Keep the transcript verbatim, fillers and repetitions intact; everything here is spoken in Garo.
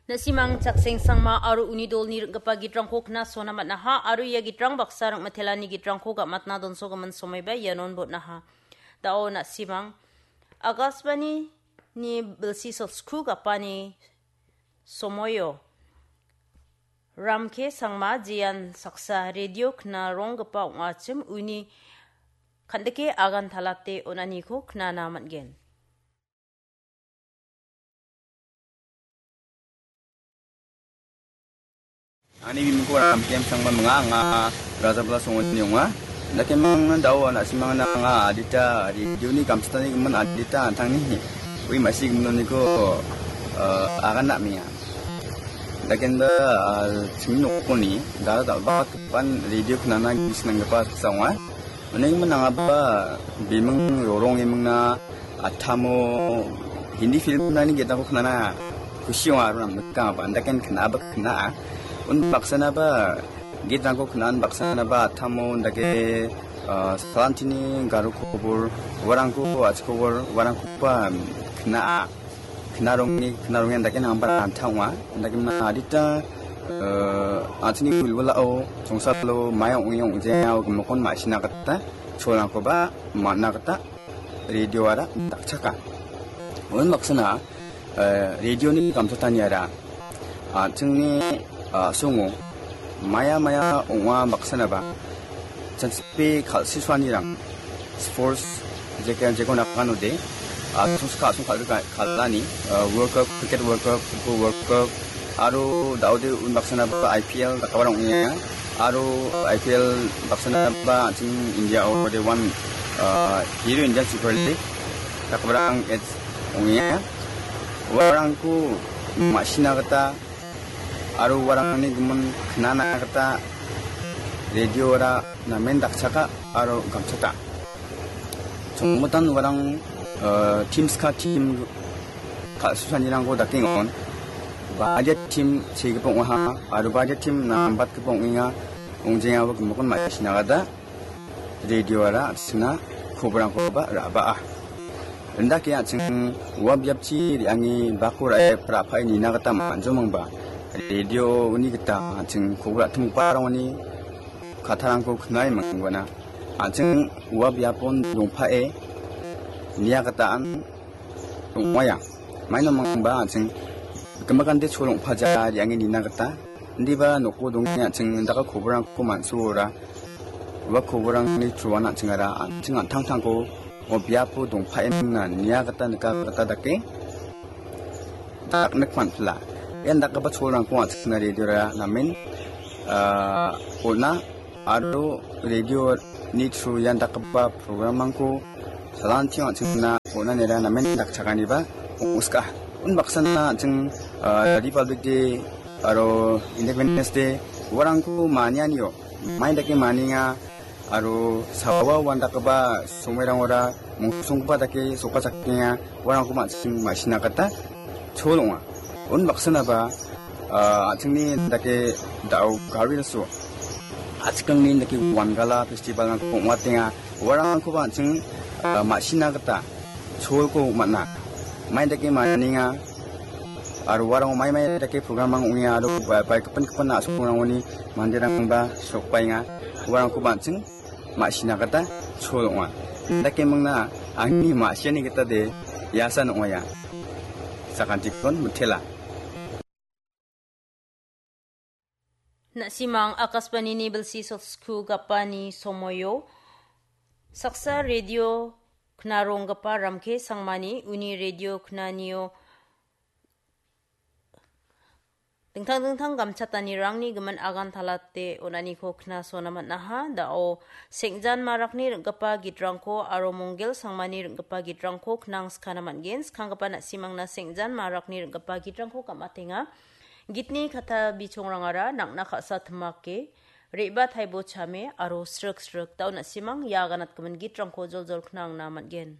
Na·simang Chakseng Sangma aro uni dolni ring·gipa gitrangko knasona man·aha aro ia gitrang baksa ring·mitelani gitrangko gam·atna donsogimin somaiba ianon botnaha. Da·o na·simang Akashvani ni bilsi sosku gapani somoio Ramke Sangma jean saksa radio knaronggipa ong·achim uni kandike agan talate on·aniko knana man·gen. Ani bimingko Ramkem Sangma minga, anga Rajabala songoni ong·a. Dakemang dao na·simangna anga adita redioni gamsatani gimin adita antangni ui ma·si giminoniko, eh, agan na·menga. Dakenba, ah, chingni nokoni dal·dalbagipan redio knana gisnanggipa saksa ong·a. Uning minangaba biming rorong imingna atamo Hindi film nani getako knana kusi ong·a aro namnikangaba andaken knaba kna·a. Un baksanaba gitrangko kna·an baksanaba atamo undake, ah, salantini garo kobor, uarangko achikobor, uarangkoba kna·a. Knarongni, knarongni andake nangba ranta ong·a. Andake mna adita, eh, an·chingni wilwilao, songsalo, maia ong·e ong·jea, gimikon ma·sina gita, cholrangkoba man·a gita, radioara dakchaka. Uan baksana, eh, radioni gamchataniara, an·chingni, ah, a·songo, maia maia ong·a baksanaba, Chanchipe kal·susuanirang sports jeke jekon dakanode, ah, sungska asong kal-, kal-, kal·ani, ah, World Cup, Cricket World Cup, Football World Cup, aro daode unbaksanaba I P L dakabarang ong·enga, aro I P L baksanaba an·ching India ode one, ah, Hero Indian Super League dakabarang ong·enga. Uarangko ma·sina gita aro uarangni gimin knana gita radioara namen dakchaka aro gamchaka. Chongmotan uarang, eh, team ska team kal·susanirangko dakengon. Badia team segipa ong·aha aro badia team nambatgipa ong·enga, ong·jengaba gimikon ma·sina gita. Radioara an·chingna kobrangkoba ra·baa. Indake an·ching ua biapchi re·ange bako ra·e pra·pae nina gita man·jomangba. Radioni gita an·ching kobra timgiparangoni kattarangko knae manggona. An·ching ua biapon dongpae nia gita an ong·aia. Maino mangba an·ching gimikante cholongpaja re·ange nina gita. Indiba noko donge an·ching indaka kobrangko man·suora. Ua kobrangni truan an·chingara an·ching an·tangtangko o biapo dongpae mingna nia gita nika gita dake daknik man·pila. Ian dakgipa cholrangko an·chingna radiora namen, ah, on·a. Aro radioni through ian dakgipa programrangko salantio an·chingna on·anira namen dakchaganiba ong·ska. Unbaksana an·ching, ah, Republic Day aro Independence Day uarangko manianio mai dake manienga aro sawa uandakgipa somoirangora mongsonggipa dake sokachakenga uarangko ma·sing ma·sina gita chol ong·a. Unbaksanaba, ah, an·chingni dake da·o gari so. Achikangni dake Wangala festivalrangko ong·atenga. Uarangkoba an·ching, ah, ma·sina gita cholko man·a. Mai dake manienga. Aro uarango mai mai dake programrang ong·enga aro ba-, bai gipin gipin a·songrangoni manderangba sokbaenga. Uarangkoba an·ching ma·sina gita chol ong·a. Indake mingna angni ma·siani gita de iasan ong·aia. Sakantikon mitela. Na·simang Akashvanini bilsi sosku gapani somoio saksa radio knaronggipa Ramke Sangmani uni radio knanio dingtang dingtang gamchatanirangni gimin agan talate on·aniko knasona man·aha. Da·o Sengjan Marakni ring·gipa gitrangko aro Monggel Sangmani ring·gipa gitrangko knang skana man·gen. Skanggipa na·simangna Sengjan Marakni ring·gipa gitrangko gam·atenga. Gitni katta bichongrangara nang·na ka·sa timake, re·ba taibo chame aro srik srik. Da·o na·simang ia aganatgimin gitrangko joljol knangna man·gen.